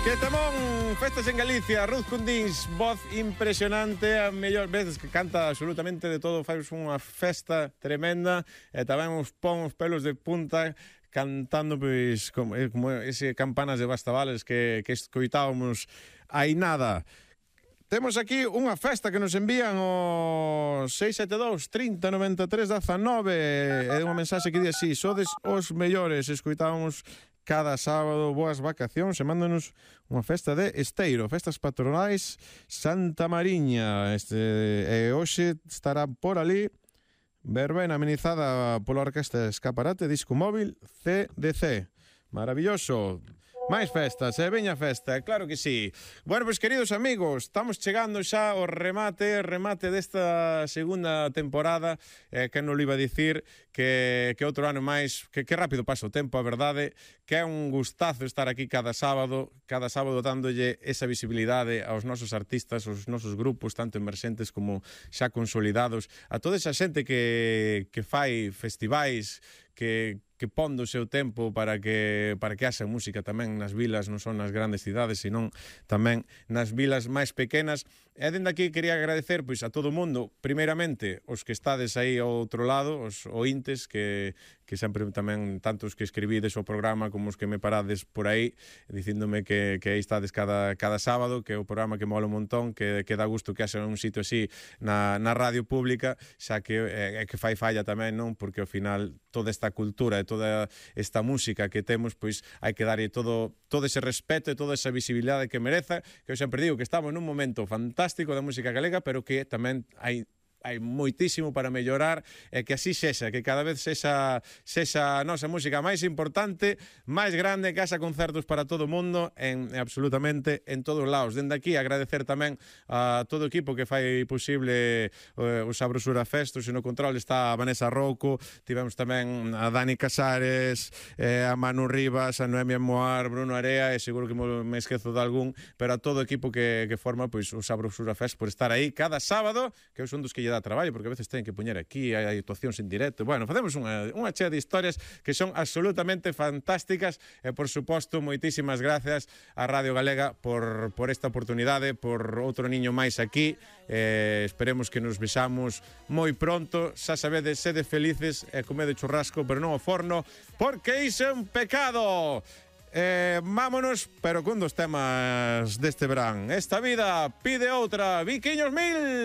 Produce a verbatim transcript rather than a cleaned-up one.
Que tamón, festas en Galicia, Ruth Cundins, voz impresionante, a mellor veces que canta absolutamente de todo, fai unha festa tremenda, e tamén os pon os pelos de punta cantando pois como, como ese campanas de Bastavales que, que escoitábamos hai nada. Temos aquí unha festa que nos envían o seis sete dous, trinta, noventa e tres, dezanove, é unha mensaxe que di así: sodes os mellores, escoitábamos cada sábado, boas vacacións, e mándanos unha festa de Esteiro, festas patronais Santa Mariña. Este, e hoxe estará por ali verbena amenizada pola Orquesta Escaparate, disco móvil C D C. Maravilloso. Máis festas, e eh? veña festa, claro que sí. Bueno, pois, queridos amigos, estamos chegando xa ao remate, remate desta segunda temporada, eh, que non lo iba a dicir, que, que outro ano máis, que, que rápido pasa o tempo, a verdade, que é un gustazo estar aquí cada sábado, cada sábado dándolle esa visibilidade aos nosos artistas, aos nosos grupos, tanto emerxentes como xa consolidados, a toda esa xente que, que fai festivais, que, que pon do seu tempo para que para que haxa música tamén nas vilas, non son nas grandes cidades, senón tamén nas vilas máis pequenas. E dende aquí quería agradecer pois a todo o mundo, primeiramente os que estades aí ao outro lado, os ointes que, que sempre tamén, tanto os que escribides o programa como os que me parades por aí dicíndome que, que aí estades cada, cada sábado, que é o programa que mola un montón, que, que dá gusto que haxa un sitio así na, na radio pública, xa que é eh, que fai falla tamén, non? Porque ao final toda esta cultura e toda esta música que temos, pois hai que darlle todo, todo ese respeto e toda esa visibilidade que mereza, que eu sempre digo que estamos nun momento fantástico da música galega, pero que tamén hai hai moitísimo para mellorar, e que así sexa, que cada vez sexa, sexa a nosa música máis importante, máis grande, que haxa concertos para todo o mundo, en, absolutamente en todos os lados. Dende aquí agradecer tamén a todo o equipo que fai posible uh, o Sabrosura Fest. No control está a Vanessa Rouco, tivemos tamén a Dani Casares, eh, a Manu Rivas, a Noemia Moar, Bruno Area, e seguro que me esquezo de algún, pero a todo o equipo que, que forma pois, o Sabrosura Fest por estar aí cada sábado, que eu son dos que lle dá traballo, porque a veces ten que poñer aquí, hai actuacións en directo. Bueno, facemos unha, unha chea de historias que son absolutamente fantásticas, e, por suposto, moitísimas gracias a Radio Galega por, por esta oportunidade, por outro niño máis aquí. Eh, esperemos que nos vexamos moi pronto. Xa sabedes, sede felices e comede churrasco, pero non ao forno, porque iso é un pecado. Eh, vámonos, pero con dos temas deste verán. Esta vida pide outra. Viquiños mil!